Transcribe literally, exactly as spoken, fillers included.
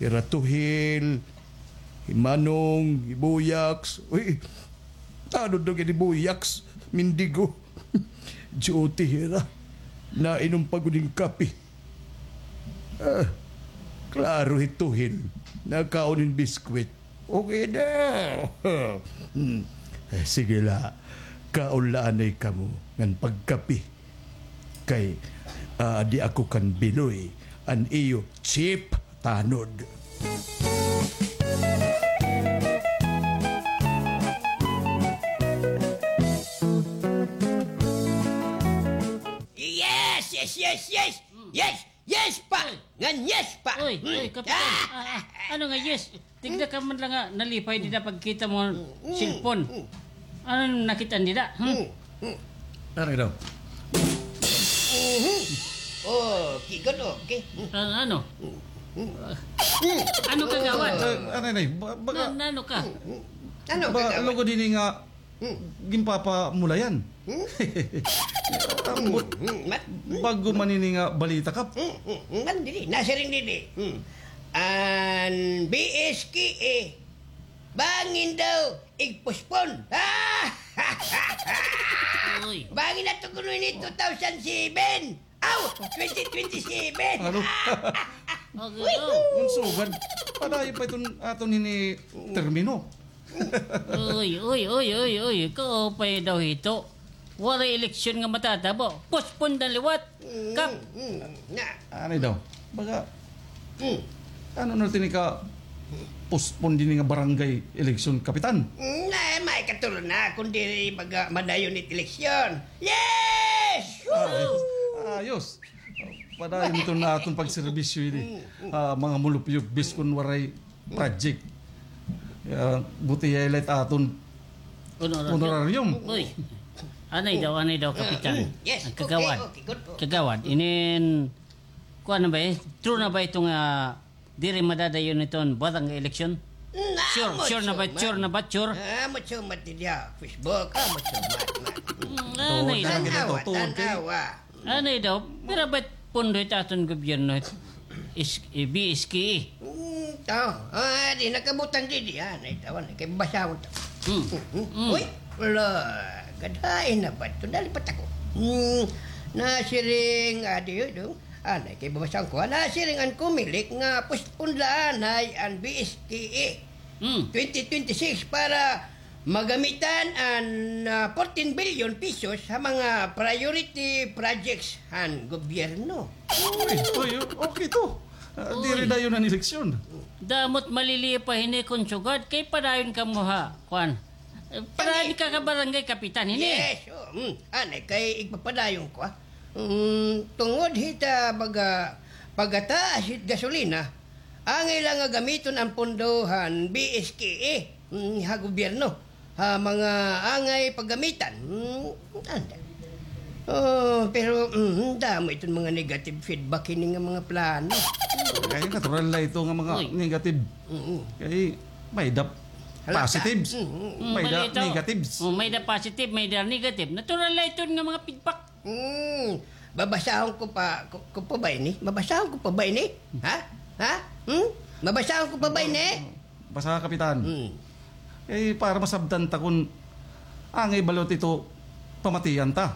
Hira tuhil, hi manong, hi buyaks. Uy, ano daw gani buyaks? Mendigo. Duty hira. Nainom pa gud hin kape. Ah, klaro hi tuhil. Nakaon hin biskwit. Okay na. Hmm. Eh, sige la. Kaon la anay kamo ngan pagkape. Kay, ah, di ako kan biloy an iyo chief tanod. Yes, yes, yes, yes. Yes, yes pa. Ngan yes pa. Uy, uy, Kapitan. Ah, ah, ano nga yes? Tigda ka man la nga nalipay dida pagkita mo cellphone. Ano nakit-an dida? Hmm? Ano daw? Mhm. Oh, kigod, okay. Ah, ano? Ano, kagawad? Ah, ano, ano, ba-, baga, na, na, ano ka? Ano, ba, kagawad? Lugod ini nga ginpapamulayan. Hmm? Ambot, hmm, mat-, bag-o man ini nga balita, Kap. Hmm, hmm, hmm, man, didi. Nasiring didi. Hmm. An B S K A, bangin daw igpospon. Uy. Bangin na to kuno ini two thousand seven. Aw, twenty twenty-seven. Ano? Okay, oh. Unsugad. Padayon pa iton aton ini termino. Uy, uy, uy, uy, uy. Kaupay daw hito. Waray eleksyon nga matatabo. Postpone na liwat. Mm, Kap. Mm, na. Ano daw? Baga, ano na tini ka postpone dinhi nga barangay election, Kapitan? Mm, na, may katulon na kung diri baga madayon it eleksyon. Yes! Ayos. Ayos. Padayon iton aton pagserbisyo ini. Mm, mm. Ah, mga mulupyo, biskon waray project. Ah, buti ya la it aton honorarium. Uy. Anay daw, anay daw, Kapitan. Yes, okay, okay, good po. Kagawad, inin, kuan na ba eh? True na ba ito nga diri madadayon iton barangay election? Sure, sure na ba? Sure na ba? Sure? Ah, mucho mat diya. Facebook, ah, mucho mat, mat. Mm, anay daw. Tan-awa, tan-awa. Anay daw, pira ba it pondo it aton gobyerno, it is-, eh, B S K A? Hmm, to. Ah, di nakabutang didi, ah, anay daw, anay, kay basahon ta. Hmm. Hmm, hmm. Hmm. Uy, wala, gadain na ba ito? Nalipat ako. Hmm, nasiring, ah, di, do. Anay, kay babasahon ko. Ah, nasiring an Comelec nga postpone la anay an B S K A. Hmm. Twenty twenty-six para magamitan an, ah, fourteen billion pesos ha mga priority projects han gobyerno. Uy, uy, okay to. Ah, diri dayon an eleksyon. Damo it malilipay hini kon sugad kay padayon kamo ha kuan. Eh, padayon ka, ka barangay kapitan hini. Yes, oh, mm, anay kay igpapadayon ko, ah. Mm, tungod hit, ah, baga, pagataas hit gasolina, angay la nga gamiton an pondo han B S K A, mm, ha gobyerno, ha mga angay paggamitan. Mm, anda. Oh, pero, mm, damo iton mga negative feedback hini nga mga plano. Kay natural la ito nga mga negative. Mm. Kay may-da positives, may-da negatives. Oh, may-da positive, may-da negative. Natural la iton nga mga feedback. Hmm, babasahon ko pa, ko, ko pa ba ini? Babasahon ko pa ba ini? Ha? Ha? Hmm? Babasahon ko pa ba ini? Basa, Kapitan. Hmm. Eh, para masabtan ta kon angay ba liwat ito pamatian ta.